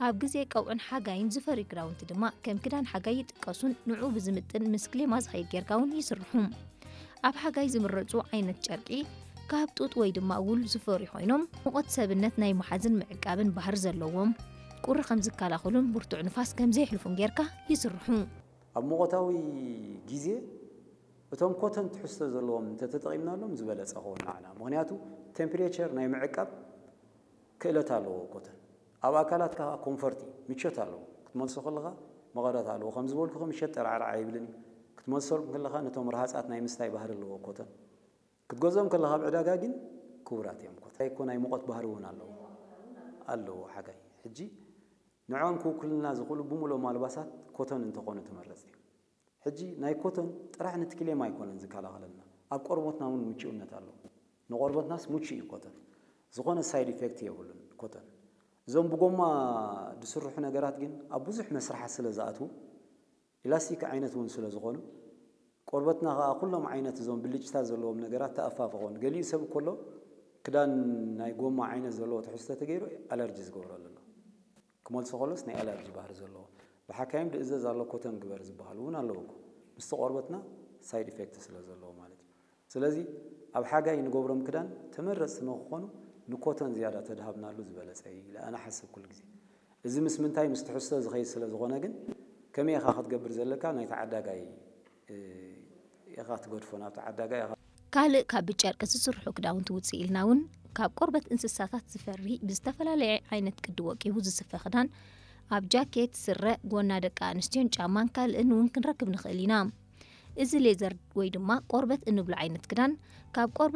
ኣብ ግዜ ቀውዕን ሓጋይን ዝፈርዩ ክዳውንቲ ድማ ከም ክዳን ሓጋይ ይጥቀሱን ንዕኡ ብዝምጥን ምስ ክሌማ ዝኸይድ ጌርካ እውን ይስርሑ። ኣብ ሓጋይ ዝምረጹ ዓይነት ጨርቂ ካብ ጡጥ ወይ ድማ ውል ዝፈርዩ ኮይኖም፣ ሙቐት ሰብነት ናይ ምሓዝን ምዕቃብን ባህሪ ዘለዎም፣ ቁሪ ከም ዝከላኸሉን ብርቱዕ ንፋስ ከም ዘየሕልፉን ጌርካ ይስርሑ። ኣብ ሙቐታዊ ግዜ እቶም ኮተን ትሕዝቶ ዘለዎም እንተተጠቒምናሎም ዝበለጸ ክኸውን ንዓና። ምኽንያቱ ቴምፕሬቸር ናይ ምዕቃብ ክእለት ኣለዎ ኮተን። ኣብ ኣካላትካ ኮንፈርቲ፣ ምቾት ኣለዎ። ክትመልሶ ከለኻ መቐረት ኣለዎ። ከም ዝበልኩ ምሸት ጠራዕራዕ ኣይብልን እዩ። ክትመልሶ ከለኻ ነቶም ረሃጻት ናይ ምስታይ ባህሪ ኣለዎ ኮተን። ክትገዝኦም ከለኻ ኣብ ዕዳጋ ግን ክቡራት እዮም ኮተን። እኮ ናይ ሙቐት ባህሪ እውን ኣለዎ። ኣለዎ ሓጋይ። ሕጂ ንዕኦም ክውክሉልና ዝኽእሉ ብምሉኦም ኣልባሳት ኮተን እንተኾኑ ትመረጽ እዩ። ሕጂ ናይ ኮተን ጥራሕ ነቲ ክሌማ ኣይኮነን ዝከላኸለልና። ኣብ ቆርቦትና እውን ምቹእነት ኣለዎ። ንቆርቦትናስ ምቹእ እዩ ኮተን። ዝኾነ ሳይድ ኢፌክት የብሉን ኮተን። እዞም ብጎማ ዝስርሑ ነገራት ግን ኣብ ብዙሕ መስርሓት ስለ ዝኣትዉ፣ ኢላስቲክ ዓይነት እውን ስለ ዝኾኑ፣ ቆርበትና ኸኣ ኩሎም ዓይነት እዞም ብልጭታት ዘለዎም ነገራት ተኣፋፍኾን። ገሊኡ ሰብ እኮ ኣሎ ክዳን ናይ ጎማ ዓይነት ዘለዎ ትሕዝቶ ተገይሩ ኣለርጂ ዝገብረሉ ኣሎ። ክመልሶ ከሎስ ናይ ኣለርጂ ባህሪ ዘለዎ። ብሓካይም ድእዘዝ ኣሎ ኮተን ግበር ዝበሃሉ እውን ኣለዉ እኮ። ምስቲ ቆርበትና ሳይድ ኢፌክት ስለ ዘለዎ ማለት እዩ። ስለዚ ኣብ ሓጋይ ንገብሮም ክዳን ተመረጽቲ ንክኾኑ ንኮተን ዝያዳ ተድሃብናሉ ዝበለጸ እዩ ኢለ ኣነ ሓስብ ኩሉ ግዜ። እዚ ምስ ምንታይ ምስ ትሕዝቶ ዝኸይድ ስለ ዝኾነ ግን ከመይ ኢኻ ክትገብር ዘለካ ናይቲ ዓዳጋይ፣ እ፣ ኢኻ ትገድፎ ናብቲ ዓዳጋይ ኢኻ ካልእ ካብ ብጨርቂ ዝስርሑ ክዳውንቲ ውፅእ ኢልና እውን ካብ ቆርበት እንስሳታት ዝፈሪ ብዝተፈላለየ ዓይነት ቅዲ ወቂቡ ዝስፈ ክዳን ኣብ ጃኬት፣ ስረ፣ ጎና ደቂ ኣንስትዮን ጫማን ካልእን እውን ክንረክብ ንኽእል ኢና። እዚ ሌዘር ወይ ድማ ቆርበት እንብሎ ዓይነት ክዳን ካብ ቆርበት